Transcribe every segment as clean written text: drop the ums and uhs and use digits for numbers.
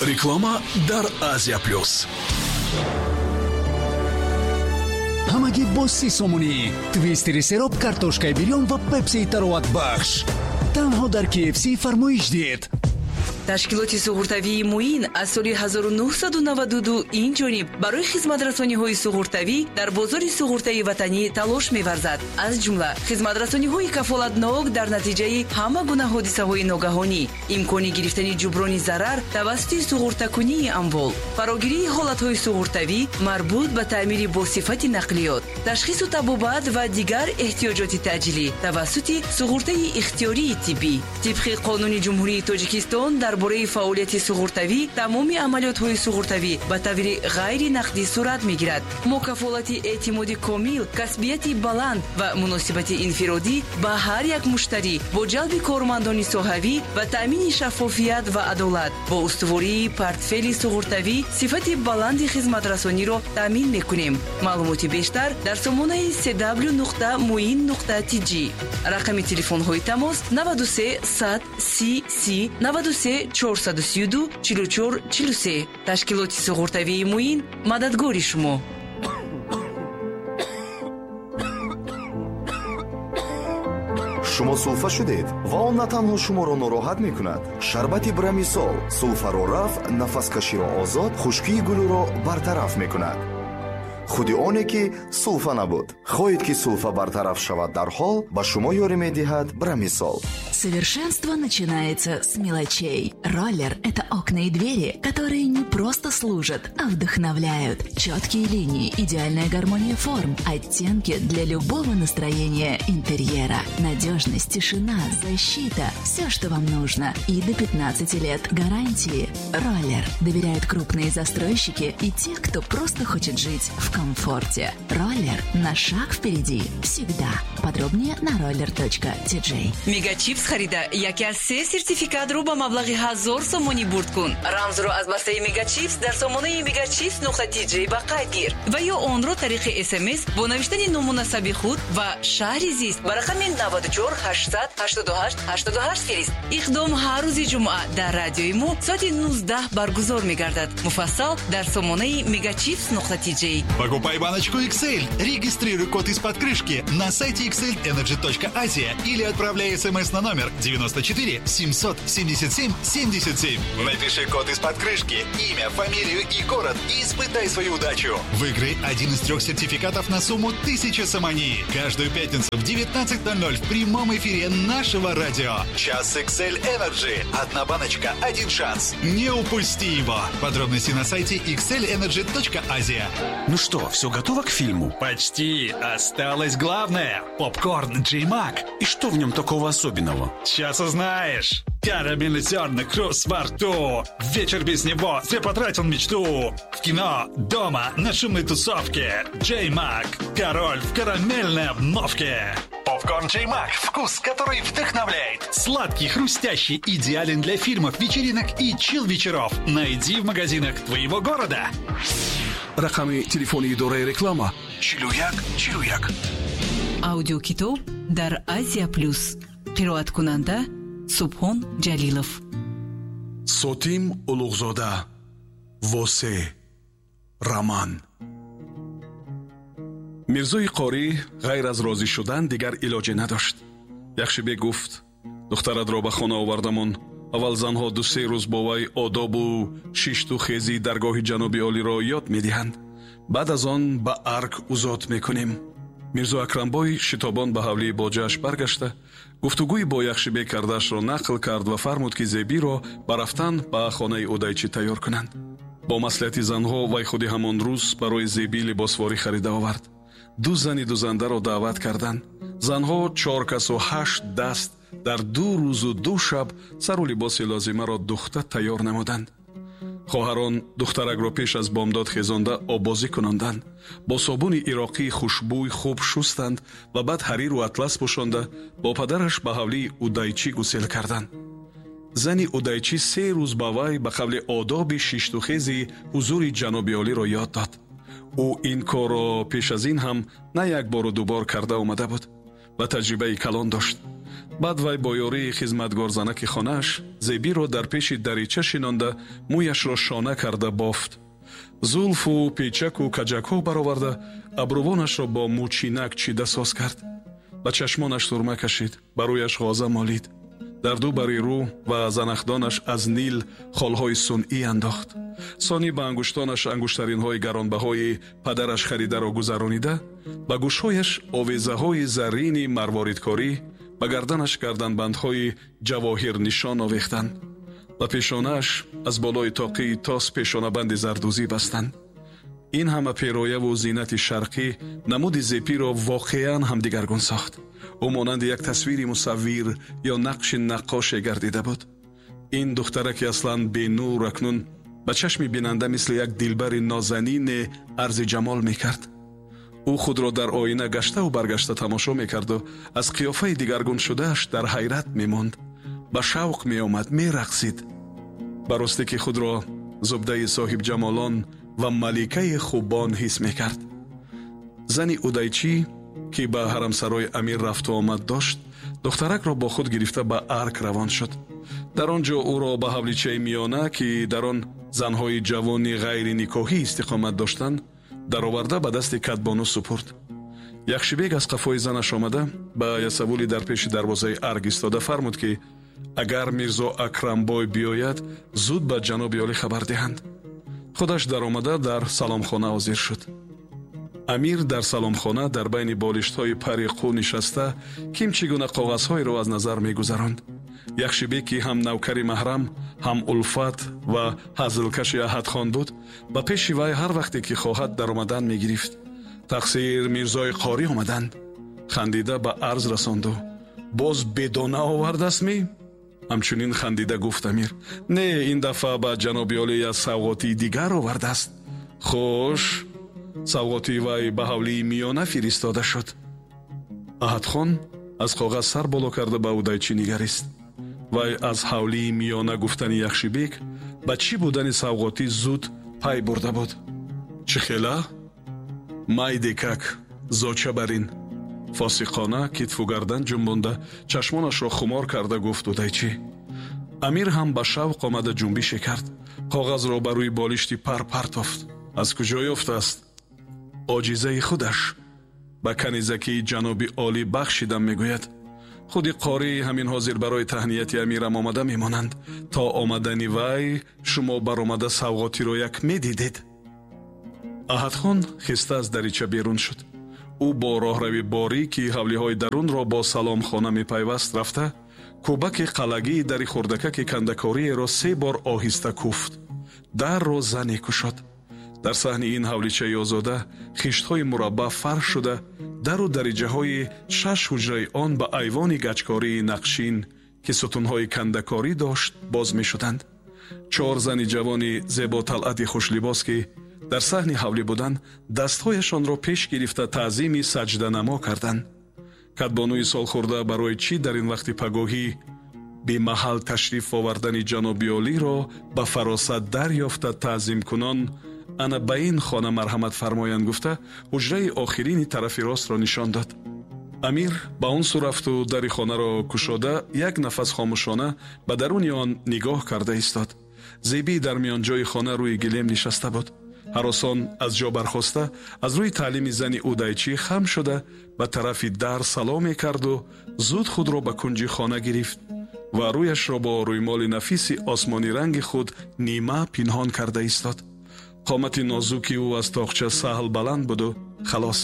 Реклама дар Азия Плюс. Ҳамагӣ бо 30 сомонӣ твистери сероб, картошкаи бирён ва пепсии тароватбахш танҳо дар KFC фармоиш диҳед. Ташкилоти суғуртавии «Муин» аз соли 1992 ин ҷониб барои хизматрасониҳои суғуртавӣ дар бозори суғуртаи ватанӣ талош меварзад. Аз ҷумла хизматрасониҳои кафолатнок дар натиҷаи ҳама гуна ҳодисаҳои ногаҳонӣ, имкони гирифтани ҷуброни зарар тавассути суғуртакунии амвол, фарогирии ҳолатҳои суғуртавӣ марбут ба таъмири босифати нақлиёт, ташхису табобат ва дигар эҳтиёҷоти таъҷилӣ тавассути суғуртаи ихтиёрии тиббӣ. Тибқи Қонуни Ҷумҳурии Тоҷикистон дар бораи фаъолияти суғуртавӣ, тамоми амалиётҳои суғуртавӣ ба таври ғайри нақдӣ сурат мегирад. Мо кафолати эътимоди комил, касбияти баланд ва муносибати инфиродӣ ба ҳар як муштарӣ бо ҷалби кормандони соҳавӣ ва таъмини шаффофият ва адолат бо устувории портфели суғуртавӣ сифати баланди хизматрасониро таъмин мекунем. Маълумоти бештар дар сомонаи cw.muin.tj. Рақами телефонҳои тамос: 93 100 30 30, 93 432 44 43. Ташкилоти суғуртавии «Муин» мададгори шумо. Шумо сулфа шудед ва он на танҳо шуморо нороҳат мекунад. Шарбати Брамисол сулфаро рафъ, нафаскаширо озод, хушкии гулӯро бартараф мекунад. Худи оне ки сулфа набуд. Хоҳед, ки сулфа бартараф шавад дарҳол, ба шумо ёрӣ медиҳад Брамисол. Совершенство начинается с мелочей. Роллер – это окна и двери, которые не просто служат, а вдохновляют. Четкие линии, идеальная гармония форм, оттенки для любого настроения интерьера. Надежность, тишина, защита – все, что вам нужно. И до 15 лет гарантии. Роллер. Доверяют крупные застройщики и те, кто просто хочет жить в комфорте. Роллер на шаг впереди. Всегда. Подробнее на roller.tj. Мегачипс харида, яке аз се сертификатро ба маблағи 1000 сомонӣ бурд кун. Рамзро аз бастаи Мегачипс дар сомонаи megachips.tj ба қайд гир ва ё онро тариқи СМС бо навиштани ному насаби худ ва шаҳри зист ба рақами 94 888 88 фирист. Иқдом ҳар рӯзи ҷумъа дар радиои мо соати 19 баргузор мегардад. Муфассал дар сомонаи megachips.tj. Покупай баночку XL. Регистрируй код из-под крышки на сайте xlenergy.asia или отправляй смс на номер 94 777 77. Напиши код из-под крышки, имя, фамилию и город и испытай свою удачу. Выиграй один из трех сертификатов на сумму 1000 сомони. Каждую пятницу в 19.00 в прямом эфире нашего радио. Час XL Energy. Одна баночка, один шанс. Не упусти его. Подробности на сайте xlenergy.asia. Ну что, все готово к фильму? Почти. Осталось главное. Попкорн Джей Мак. И что в нем такого особенного? Сейчас узнаешь. Карамельный зерна, хруст во рту. Вечер без него, зря потратил мечту. В кино, дома, на шумной тусовке. Джей Мак. Король в карамельной обновке. Попкорн Джей Мак. Вкус, который вдохновляет. Сладкий, хрустящий, идеален для фильмов, вечеринок и чил-вечеров. Найди в магазинах твоего города. Рақами телефони идораи реклама: 41 41. Аудиокитоб дар Азия Плюс. Қироаткунанда Субҳон Ҷалилов. Сотим Улуғзода, «Восе», роман. Мирзои қорӣ ғайр аз розӣ шудан дигар илоҷе надошт. Яхшибек гуфт: «Духтаратро ба хона овардамон. Аввал занҳо 2-се рӯз бо вай одобу шишту хезии даргоҳи ҷаноби олиро ёд медиҳанд. Баъд аз он ба арг узод мекунем». Мирзо Акрамбой шитобон ба ҳавлии боҷааш баргашта, гуфтугӯи бо Яхшибек кардаашро нақл кард ва фармуд, ки Зебиро ба рафтан ба хонаи удайчӣ тайёр кунанд. Бо маслиҳати занҳо вай худи ҳамон рӯз барои Зебӣ либосворӣ харида овард. Ду зани дузандаро даъват карданд. Занҳо чор касу ҳашт даст дар 2 рӯзу 2 шаб сару либоси лозимаро духта тайёр намуданд. Хоҳарон духтаракро пеш аз бомдод хезонда оббозӣ кунонданд, бо собуни ироқии хушбӯй хуб шустанд ва баъд ҳариру атлас пӯшонда бо падараш ба ҳавлии удайчӣ гусел карданд. Зани удайчӣ 3 рӯз ба вай ба қавли одоби шиштухези ҳузури ҷаноби олиро ёд дод. Ӯ ин корро пеш аз ин ҳам на як бору дубор карда омада буд ва таҷрибаи калон дошт. Баъд вай бо ёрии хизматгорзанаки хонааш Зебиро дар пеши дарича шинонда, мӯяшро шона карда бофт, зулфу печаку каҷакҳо бароварда, абрувонашро бо мӯчинак чида соз кард, ба чашмонаш сурма кашид, ба рӯяш ғоза молид, дар ду бари рӯ ва занахдонаш аз нил холҳои сунъӣ андохт. Сонӣ ба ангуштонаш ангуштаринҳои гаронбаҳои падараш харидаро гузаронида, ба гӯшҳояш овезаҳои заррини марворидкорӣ, ба гарданаш гарданбандҳои ҷавоҳирнишон овехтанд, ба пешонааш аз болои тоқии тос пешонабанди зардӯзӣ бастанд. Ин ҳама перояву зинати шарқӣ намуди Зепиро воқеан ҳам дигаргун сохт. Ӯ монанди як тасвири мусаввир ё нақши наққоше гардида буд. Ин духтараки аслан бенур акнун ба чашми бинанда мисли як дилбари нозанине арзи ҷамол мекард. Ӯ худро дар оина гаштаву баргашта тамошо мекарду аз қиёфаи дигаргун шудааш дар ҳайрат мемонд, ба шавқ меомад, мерақсид. Ба ростӣ ки худро зубдаи соҳибҷамолон ва маликаи хубон ҳис мекард. Зани удайчӣ, ки ба ҳарамсарои амир рафту омад дошт, духтаракро бо худ гирифта ба арк равон шуд. Дар он ҷо ӯро ба ҳавличаи миёна, ки дар он занҳои ҷавони ғайриникоҳӣ истиқомат доштанд, дароварда ба дасти катбону супурд. Яхшибек аз қафои занаш омада, ба ясавули дар пеши дарвозаи арк истода фармуд, ки агар Мирзо Акрамбой биёяд, зуд ба ҷаноби олӣ хабар диҳанд. Худаш даромада дар саломхона ҳозир шуд. Амир дар саломхона дар байни болиштҳои пари қӯ нишаста, ким чӣ гуна коғазҳоеро аз назар мегузаронд. Яхшибек, ки ҳам навкари маҳрам, ҳам улфат ва ҳазлкаши Аҳадхон буд, ба пеши вай ҳар вақте ки хоҳад даромадан мегирифт. Тақсир Мирзои Қорӣ омаданд, хандида ба арз расонду. Боз бедона овардастми? Ҳамчунин хандида гуфт амир. Не, ин дафъа ба ҷаноби олӣ аз савғотии дигар овардааст. Хуш, савғотии вай ба ҳавлии миёна фиристода шуд. Аҳадхон аз коғаз сар боло карда ба удайчӣ нигарист. Вай аз ҳавлии миёна гуфтани Яхшибек ба чӣ будани савғотӣ зуд пай бурда буд. Чӣ хела? Майдекак, зоча барин. Фосиқона китфу гардан ҷунбонда, чашмонашро хумор карда гуфт удайчӣ. Амир ҳам ба шавқ омада ҷунбише кард. Коғазро ба рӯи болишти пар партофт. Аз куҷо ёфтааст? Оҷизаи худаш. Ба канизакии ҷаноби олӣ бахшидам, мегӯяд. Худи қорӣ ҳамин ҳозир барои таҳнияти амирам омада мемонанд. То омадани вай шумо баромада савғотиро як медидед. Аҳадхон хиста аз дарича берун шуд. Ӯ бо роҳрави борӣ, ки ҳавлиҳои дарунро бо саломхона мепайваст, рафта кӯбаки қалагии дари хурдакаки кандакориеро се бор оҳиста куфт. Дарро зане кушод. Дар саҳни ин ҳавличаи озода хиштҳои мураббаъ фарш шуда, дару дариҷаҳои шаш ҳуҷраи он ба айвони гачкории нақшин, ки сутунҳои кандакорӣ дошт, боз мешуданд. Чор зани ҷавони зеботалъати хушлибос, ки дар саҳни ҳавлӣ буданд, дастҳояшонро пеш гирифта таъзими саҷданамо карданд. Катбонуи солхӯрда барои чӣ дар ин вақти пагоҳӣ бемаҳал ташриф овардани ҷаноби олиро ба фаросат дарёфта таъзимкунон ана ба ин хона марҳамат фармоянд гуфта, ҳуҷраи охирини тарафи ростро нишон дод. Амир ба он сӯ рафту дари хонаро кушода, як нафас хомӯшона ба даруни он нигоҳ карда истод. Зебӣ дар миёнҷои хона рӯи гилем нишаста буд. Ҳаросон аз ҷо бархоста, аз рӯи таълими зани удайчӣ хам шуда ба тарафи дар саломе карду зуд худро ба кунҷи хона гирифт ва рӯяшро бо рӯймоли нафиси осмониранги худ нима пинҳон карда истод. Қомати нозуки ӯ аз тоқча саҳл баланд буду халос.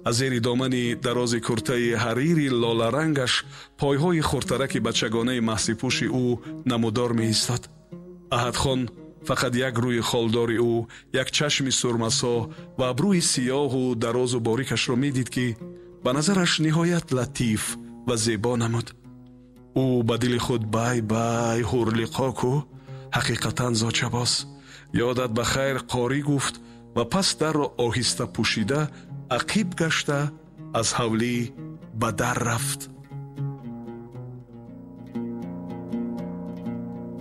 Аз зери домани дарози куртаи ҳарири лоларангаш пойҳои хурдтараки бачагонаи маҳсипӯши ӯ намудор меистод. Аҳадхон фақат як рӯи холдори ӯ, як чашми сурмасо ва абрӯи сиёҳу дарозу борикашро медид, ки ба назараш ниҳоят латиф ва зебо намуд. Ӯ ба дили худ бай бай ҳурлиқо ку, ҳақиқатан зочабоз. Ёдат ба хайр, қорӣ, гуфт ва пас дарро оҳиста пӯшида ақиб гашта аз ҳавлӣ ба дар рафт.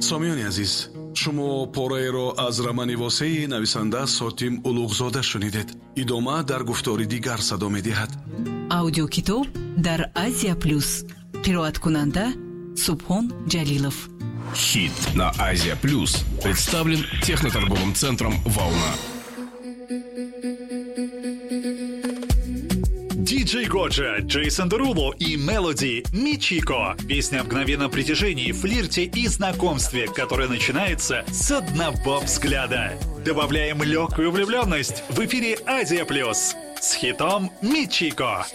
Сомиёни азиз, шумо пораеро аз романи восеи нависанда Сотим Улуғзода шунидед. Идома дар гуфтори дигар садо медиҳад. Аудиокитоб дар Азия Плюс. Қироаткунанда Субҳон Ҷалилов. Хит на Азия Плюс представлен техноторговым центром «Волна». Диджей Годжа, Джейсон Деруло и Мелоди «Мичико». Песня о мгновенном притяжении, флирте и знакомстве, которое начинается с одного взгляда. Добавляем легкую влюбленность в эфире Азия Плюс с хитом «Мичико».